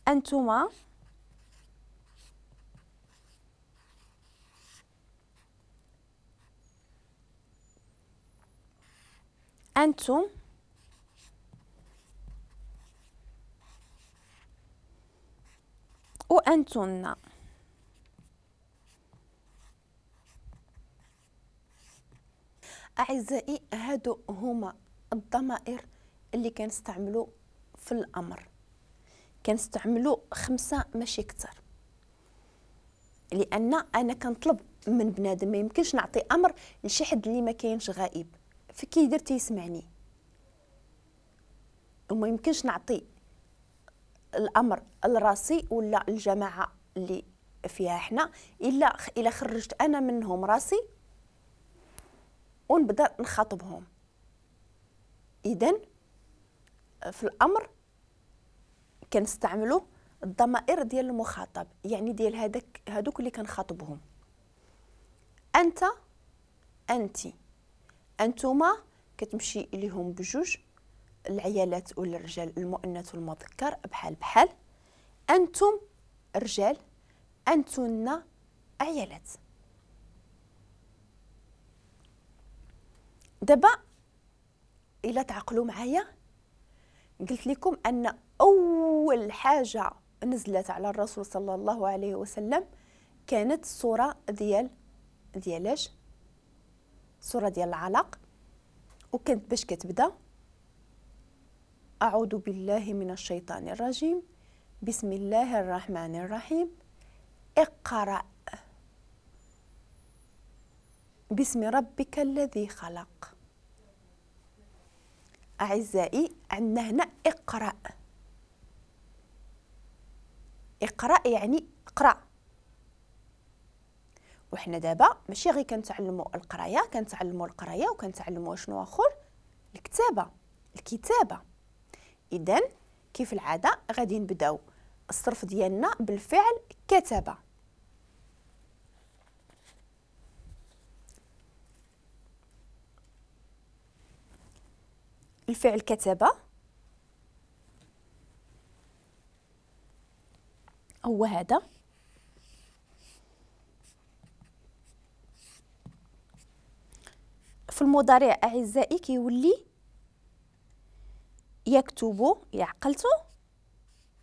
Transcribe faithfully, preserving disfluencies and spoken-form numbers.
أنتما، أنتم، وأنتن. أعزائي هادو هما الضمائر اللي كنستعملو في الأمر. كنستعملو خمسة ماشي كتر، لأن أنا كنطلب من بنادم، ما يمكنش نعطي أمر لشي حد اللي ما كاينش غائب، فكيدير تيسمعني، وما يمكنش نعطي الأمر لراسي ولا الجماعة اللي فيها حنا إلا إلا خرجت أنا منهم راسي ونبدا نخاطبهم. إذن في الأمر كنستعملوا الضمائر ديال المخاطب، يعني ديال هذاك هذوك اللي كنخاطبهم. أنت، أنت، أنتما كتمشي ليهم بجوج، العيالات ولا الرجال، المؤنث والمذكر بحال بحال. أنتم رجال، أنتن عيالات. دابا إلا تعقلوا معايا قلت لكم أن أول حاجة نزلت على الرسول صلى الله عليه وسلم كانت الصورة ديال ديالاش؟ الصورة ديال العلق، وكانت باش كتبدا أعوذ بالله من الشيطان الرجيم، بسم الله الرحمن الرحيم، اقرأ باسم ربك الذي خلق. أعزائي عندنا هنا اقرأ، اقرأ يعني اقرأ. وحنا دابا ماشي غير كنتعلموا القراية، كنتعلموا القراية وكنتعلموا شنو اخر؟ الكتابة، الكتابة. اذا كيف العادة غادي نبداو الصرف ديالنا بالفعل كتب. الفعل كتب هو هذا. في المضارع أعزائي كيولي يكتب، يعقلتو